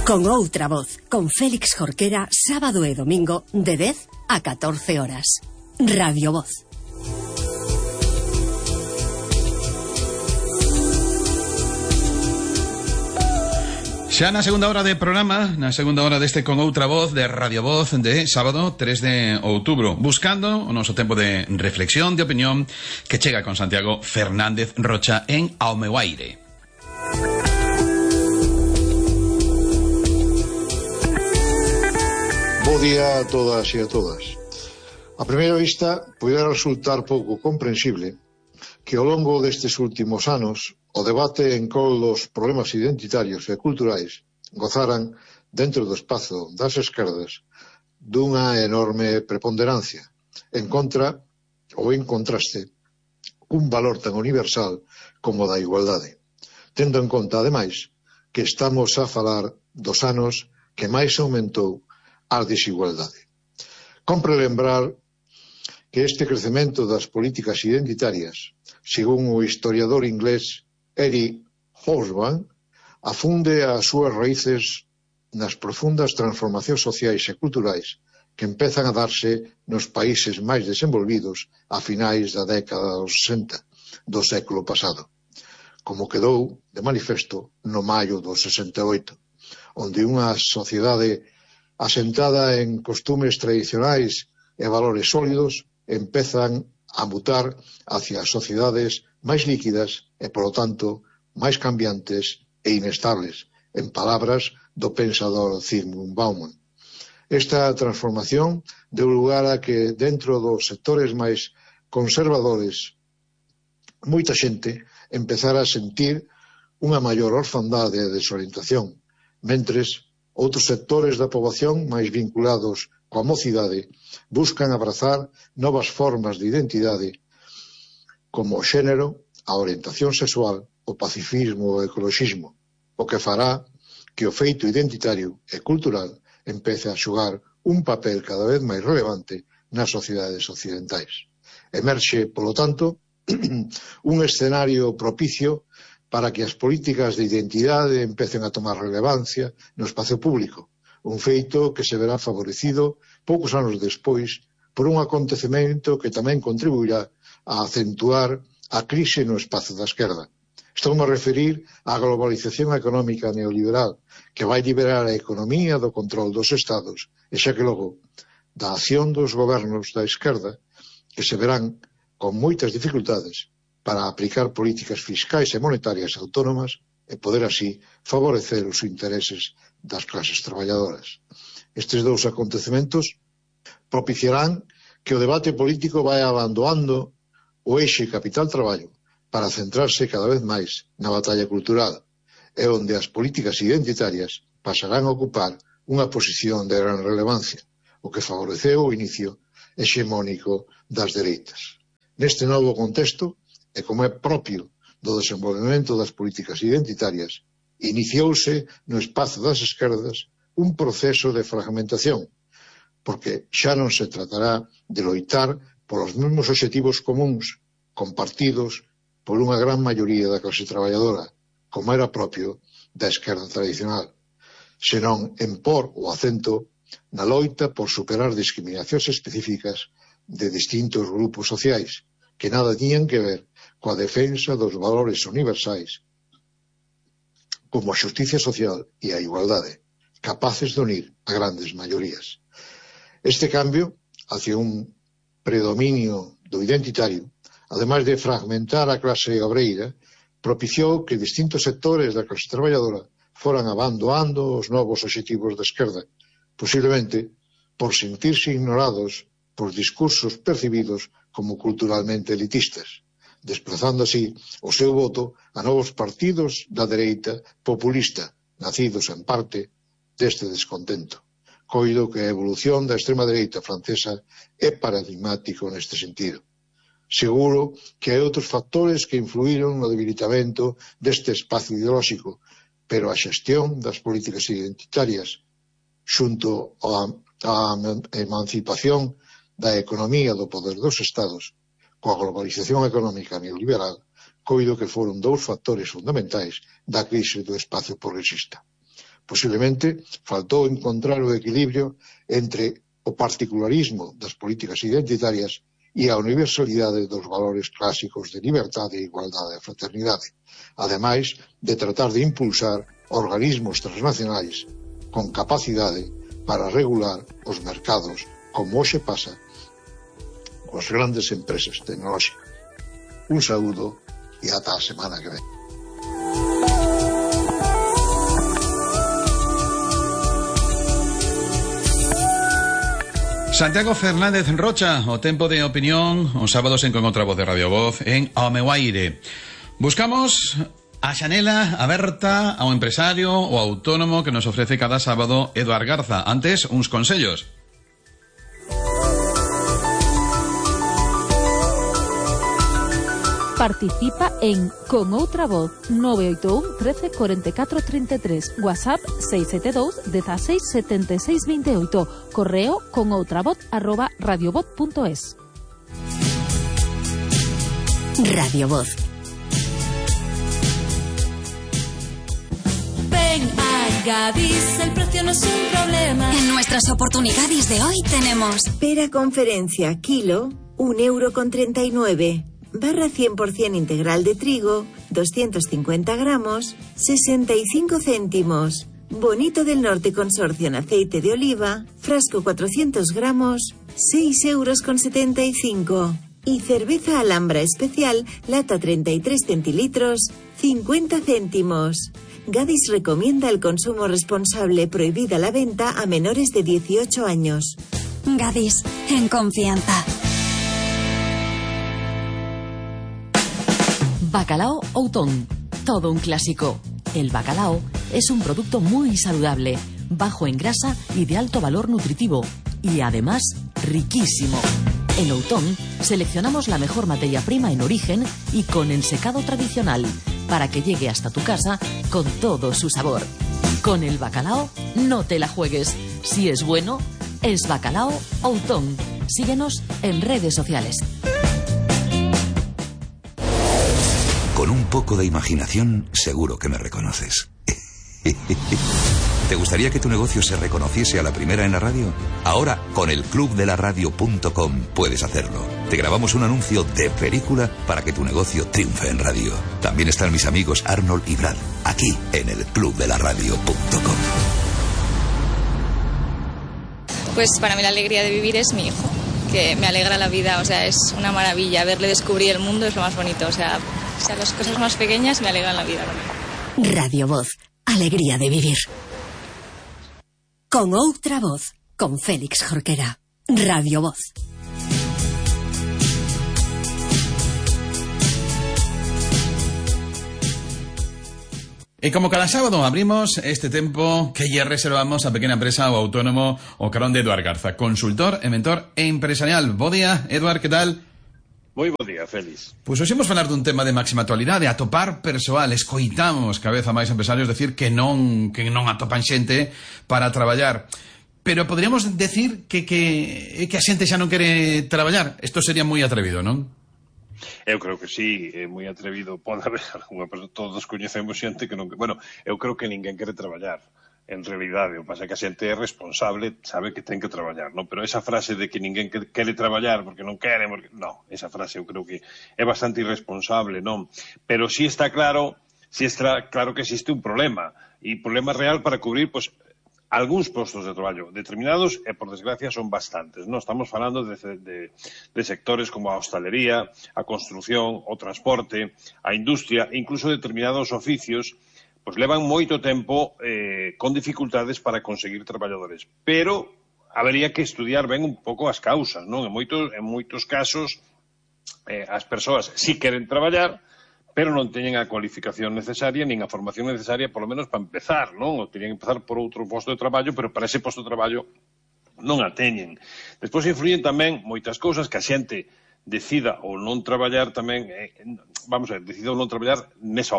Con outra voz, con Félix Jorquera, sábado e domingo, de 10 a 14 horas. Radio Voz. Xa na segunda hora de programa, na segunda hora deste Con Outra Voz de Radio Voz de sábado 3 de outubro, buscando o noso tempo de reflexión, de opinión, que chega con Santiago Fernández Rocha en Ao meu aire. Bo día a todas e a todas. A primeira vista, poderá resultar pouco comprensible que ao longo destes últimos anos o debate en col dos problemas identitarios e culturais gozaran dentro do espazo das esquerdas dunha enorme preponderancia en contra ou en contraste cun valor tan universal como da igualdade, tendo en conta, ademais, que estamos a falar dos anos que máis aumentou a desigualdade. Compre lembrar que este crecemento das políticas identitarias, según o historiador inglés Eric Hobsbawm, afunde as súas raíces nas profundas transformacións sociais e culturais que empezan a darse nos países máis desenvolvidos a finais da década dos 60 do século pasado, como quedou de manifesto no maio do 68, onde unha sociedade asentada en costumes tradicionais e valores sólidos empezan a mutar hacia sociedades máis líquidas e, polo tanto, máis cambiantes e inestables, en palabras do pensador Zygmunt Bauman. Esta transformación deu lugar a que, dentro dos sectores máis conservadores, moita xente empezara a sentir unha maior orfandade e desorientación, mentres outros sectores da poboación máis vinculados coa mocidade buscan abrazar novas formas de identidade como o xénero, a orientación sexual, o pacifismo e o ecoloxismo, o que fará que o feito identitario e cultural empece a xogar un papel cada vez máis relevante nas sociedades occidentais. Emerxe, polo tanto, un escenario propicio para que as políticas de identidade empecen a tomar relevancia no espacio público, un feito que se verá favorecido poucos anos despois por un acontecemento que tamén contribuirá a acentuar a crise no espazo da esquerda. Estou a referir á globalización económica neoliberal que vai liberar a economía do control dos estados e xa que logo da acción dos gobernos da esquerda que se verán con moitas dificultades para aplicar políticas fiscais e monetarias autónomas e poder así favorecer os intereses das clases traballadoras. Estes dous acontecementos propiciarán que o debate político vai abandonando o eixe capital-traballo para centrarse cada vez máis na batalla cultural, e onde as políticas identitarias pasarán a ocupar unha posición de gran relevancia, o que favoreceu o inicio hexemónico das dereitas. Neste novo contexto, e como é propio do desenvolvemento das políticas identitarias, iniciouse no espazo das esquerdas un proceso de fragmentación, porque xa non se tratará de loitar polos mesmos obxectivos comuns compartidos por unha gran maioría da clase traballadora, como era propio da esquerda tradicional, senón en por o acento na loita por superar discriminacións específicas de distintos grupos sociais que nada tiñan que ver coa defensa dos valores universais como a xusticia social e a igualdade, capaces de unir a grandes maiorías. Este cambio hacia un predominio do identitario, ademais de fragmentar a clase obreira, propiciou que distintos sectores da clase traballadora foran abandonando os novos obxectivos da esquerda, posiblemente por sentirse ignorados por discursos percibidos como culturalmente elitistas, desplazando así o seu voto a novos partidos da dereita populista, nacidos en parte deste descontento. Coido que a evolución da extrema dereita francesa é paradigmático neste sentido. Seguro que hai outros factores que influíron no debilitamento deste espacio ideolóxico, pero a xestión das políticas identitarias xunto á emancipación da economía do poder dos estados coa globalización económica neoliberal, coido que foron dous factores fundamentais da crise do espacio progresista. Posiblemente faltou encontrar o equilibrio entre o particularismo das políticas identitarias e a universalidade dos valores clásicos de liberdade, igualdade e fraternidade, ademais de tratar de impulsar organismos transnacionais con capacidade para regular os mercados, como hoxe pasa coas grandes empresas tecnolóxicas. Un saúdo e ata a semana que ven. Santiago Fernández Rocha, o tempo de opinión, os sábados en Con Outra Voz de Radio Voz, en Ao Meu Aire. Buscamos a xanela aberta ao empresario ou autónomo que nos ofrece cada sábado Eduard Garza. Antes, uns consellos. Participa en Con Outra Voz 981 13 44 33, WhatsApp 672 16 76 28, correo conoutravoz@radiovoz.es. Radio Voz. Ven a Gadis, el precio no es un problema. En nuestras oportunidades de hoy tenemos pera conferencia kilo, 1,39 €. Barra 100% integral de trigo, 250 gramos, 65 céntimos. Bonito del Norte Consorcio en aceite de oliva, frasco 400 gramos, 6,75 €. Y cerveza Alhambra especial, lata 33 centilitros, 50 céntimos. Gadis recomienda el consumo responsable, prohibida la venta a menores de 18 años. Gadis, en confianza. Bacalao Outón, todo un clásico. El bacalao es un producto muy saludable, bajo en grasa y de alto valor nutritivo, y además riquísimo. En Outón seleccionamos la mejor materia prima en origen y con ensecado tradicional, para que llegue hasta tu casa con todo su sabor. Con el bacalao no te la juegues. Si es bueno, es Bacalao Outón. Síguenos en redes sociales. Con un poco de imaginación, seguro que me reconoces. ¿Te gustaría que tu negocio se reconociese a la primera en la radio? Ahora, con el clubdelaradio.com puedes hacerlo. Te grabamos un anuncio de película para que tu negocio triunfe en radio. También están mis amigos Arnold y Brad, aquí en el clubdelaradio.com. Pues para mí la alegría de vivir es mi hijo, que me alegra la vida, o sea, es una maravilla. Verle descubrir el mundo es lo más bonito, o sea, las cosas más pequeñas me alegran la vida. Radio Voz, alegría de vivir. Con Outra Voz, con Félix Jorquera. Radio Voz. E como cada sábado abrimos este tempo que lle reservamos a pequena empresa ou autónomo o carón de Eduard Garza, consultor e mentor empresarial. Bo día, Eduard, que tal? Moi bo día, Félix. Pois hoxe imos falar dun tema de máxima actualidade, atopar persoal. Escoitamos cada vez a máis empresarios decir que non atopan xente para traballar. Pero poderíamos decir que a xente xa non quere traballar. Isto sería moi atrevido, non? Eu creo que sí, é moi atrevido. Pode haber algunha persoa, todos coñecemos xente que non... Bueno, eu creo que ninguén quere traballar. En realidade, o que pasa é que a xente é responsable, sabe que ten que traballar, non? Pero esa frase de que ninguén quere traballar porque non quere, porque... No, esa frase eu creo que é bastante irresponsable, non? Pero sí está claro que existe un problema, e problema real para cubrir, pois, algúns postos de traballo determinados, e por desgracia son bastantes, non? Estamos falando de sectores como a hostalería, a construción, o transporte, a industria, e incluso determinados oficios, pois levan moito tempo con dificultades para conseguir traballadores. Pero habería que estudiar ben un pouco as causas, non? En moitos casos as persoas si queren traballar, pero non teñen a cualificación necesaria nin a formación necesaria, polo menos para empezar, non? Ou teñen que empezar por outro posto de traballo, pero para ese posto de traballo non a teñen. Despois influyen tamén moitas cousas que a xente decida ou non traballar tamén, decida ou non traballar nesa